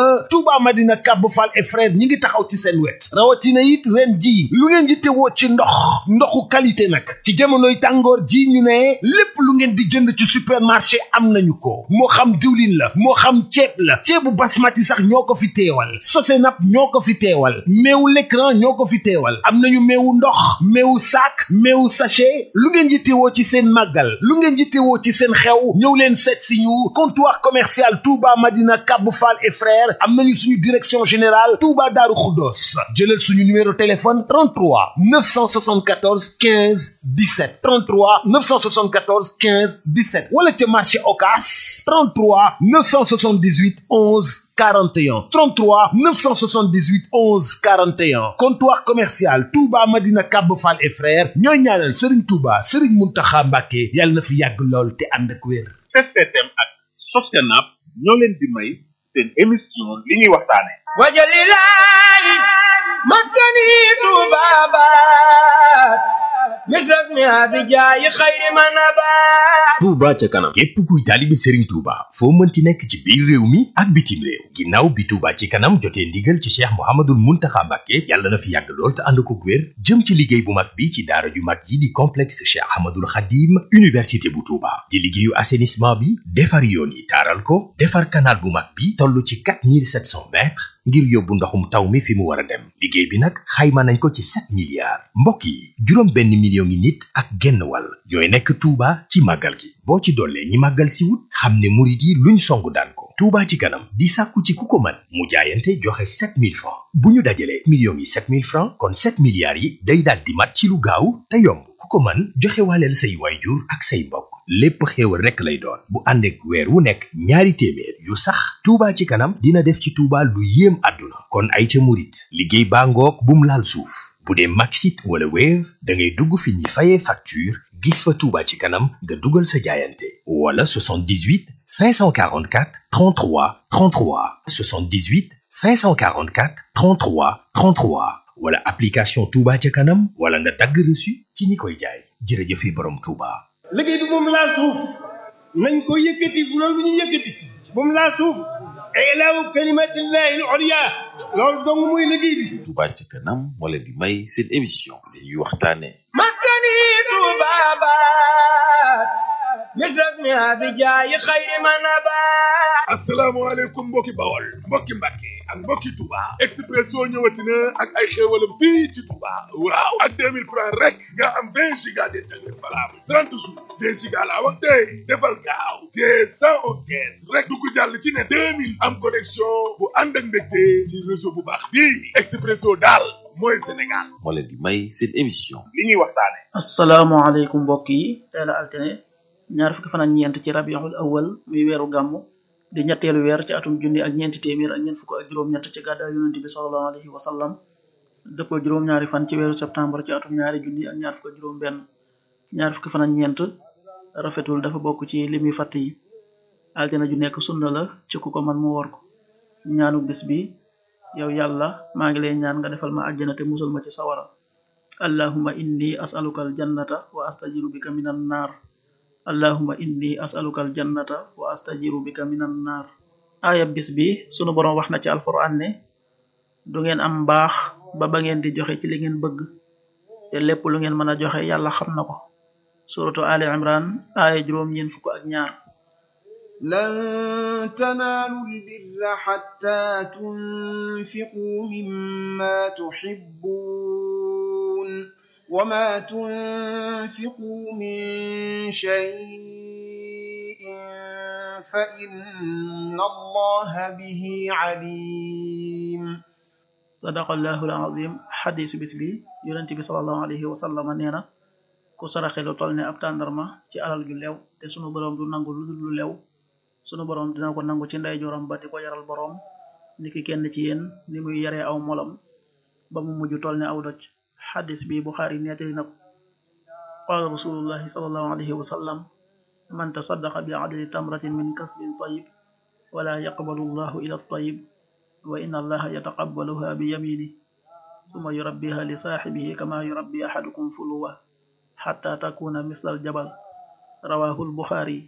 Touba Madina Kab Fall et frère ñi ngi taxaw ci seen wet rawatina it ren ji lu ngeen di teewoo ci ndoxu qualité nag ci jamonoy tàngoor ji ñu ne lépp lu ngeen di jënd ci supermarché am nañu ko moo xam diwlin la moo xam ceeb la ceebu basmati sax ñoo ko fi teewal Sosenap ñoo ko fi teewal meewu l'écran ñoo ko fi teewal am nañu meewu ndox meewu sac meewu sachet lu ngeen di teewoo ci seen màggal lu ngeen di teewoo ci seen xew ñëw leen seet si ñu comptoir commercial Touba Madina Kab Fall et frère am nañu suñu direction générale Touba Darou Khoudoss jëlal suñu numéro téléphone 33 974 15 17 33 974 15 17 wala ca marché Ocass 33 978 11 41 33 978 11 41 comptoir commercial Touba Madina Kab Fall et frères ñooy ñaanal Serigne Touba Serigne Mountakha Mbacké yàlla na fi yàgg lool te ànd ak wér. STM ak Sosenap ñoo leen di may seen émission li ñuy waxtaane wajalilahi maskani tubabat misras mi abijaayi xayri manabat Touba ca kanam képp kuy taalibe Serigne Touba foo mënti nekk ci biir réew mi ak bitim réew ginnaaw bi Touba ci kanam jotee ndigal ci Cheikh Mouhamadoul Mountakha Mbacké yàlla na fi yàgg lool te ànd ko wér jëm ci liggéey bu mag bi ci daara ju mag yi di complexe Cheikh Ahmadoul Khadim université bu Touba di liggéeyu assainissement bi defar yoon yi taaral ko defar canal bu mag bi toll ci 4700 mètres ngir yóbbu ndoxum taw mi fi mu war a dem liggéey bi nag xayma nañ ko ci 7 milliards mbokk yi juróom benn million ngi nit ak genn wàll ñooy nekk Touba ci màggal gi boo ci dollee ñi màggal si wut xam ne murit yi luñ songu daan ko Touba ci kanam di sàkku ci ku ko mën mu jaayante joxe 7000 francs bu ñu dajalee millions yi 7000 francs kon 7 milliards yi day daal di mat ci lu gaaw te yomb ku ko mën joxe waaleel say waajur ak say mbokk lépp xéewal rekk lay doon bu ànd ak weer wu nekk ñaari téeméer yu sax Touba ci kanam dina def ci Touba lu yéem àdduna kon ay ca murit liggéey baa ngoog bum laal suuf bu dee Maxit wala Wave da ngay dugg fi ñuy fayee facture gis fa Touba ci kanam nga dugal sa jaayante wala 78 544 33 33 78 544 33 33 wala application Touba ca kanam wala nga dagg reçu ci ñi koy jaay jërëjëfe borom Touba. liggéey bi moom laal suuf nañ ko yëkkati bu loolu bu ñu yëkkati moom laal suuf ilaahu kalimatillahi al-ulya loolu dong muy liggéey bi. Touba ca kanam moo leen di may seen émission li ñuy waxtaane maskani tubabat misras mi abijaayi xayri manabat asalaamaaleykum mbokki Bawol mbokki Mbàkke ak mbokki Touba Expresso ñëwati na ak ay xéewalam fii ci Touba waaw ak 2000 francs rek nga am 20 giga d'internet valable 30 jours 2 giga laa wax tey defal gaaw te 111 kees rek du ko jàll ci ne 2000 am connexion bu ànd ak mbégte ci réseau bu baax bii Expresso daal mooy Sénégal moo leen di may seen émission li ñuy waxtaane asalaamaaleykum mbokk yi tey la altine ñaar fukki fan ak ñeent ci rabiul awal muy weeru gàmmu di ñetteelu weer ci atum junni ak ñeenti téeméer ak ñeent fukk ak juróom-ñett ci gàddaay yonent bi sallallahu alayhi wa sallam dëppoo juróom-ñaari fan ci weeru septembre ci atum ñaari junni ak ñaar fukk ak juróom benn ñaar fukki fan ak ñeent rafetul dafa bokk ci limi fàtt yi altine ju nekk sunna la ci ku ko man mu wor ko ñaanu bis bi yow yàlla maa ngi lay ñaan nga defal ma àjjana te musal ma ci sawara allahumma inni as'aluka aljannata wa astajiru bika minan nar allahumma inni as'aluka aljannata wa astajiru bika minan nar aaya bis bi sunu boroom wax na ci alquran ne du ngeen am mbaax ba ngeen di joxe ci li ngeen bëgg te lépp lu ngeen mën a joxe yàlla xam na ko suratu ali imran aaya juróom ñeen fukk ak ñaar lan tanaalu albirra hatta tunfiqu mimma tuhibbun وما تنفقوا من شيء فإن الله به عليم صدق الله العظيم حديث bis bi yonent bi sallallahu alayhi wa sallam neena ku saraxe lu toll ne ab tàndarma ci alal ju lew te sunu borom du nangu lu dul lu lew sunu borom dina ko nangu ci ndeyjooram ba di ko yaral borom niki kenn ci yéen ni muy yaree aw molam ba mu mujj toll ne aw doj xadis bi Buxaari nettali na ko qaala rasulullahi sallallahu alayhi wa sallam man tasaddaqa bi adli tamratin min kasbin tayyib wala yaqbalu llahu ila tayyib wa inna allaha yataqabbaluha bi yaminihi thumma yurabbiha li saahibihi kama yurabbi ahadukum fuluwa hatta takuna misla al jabal rawahu al Buxaari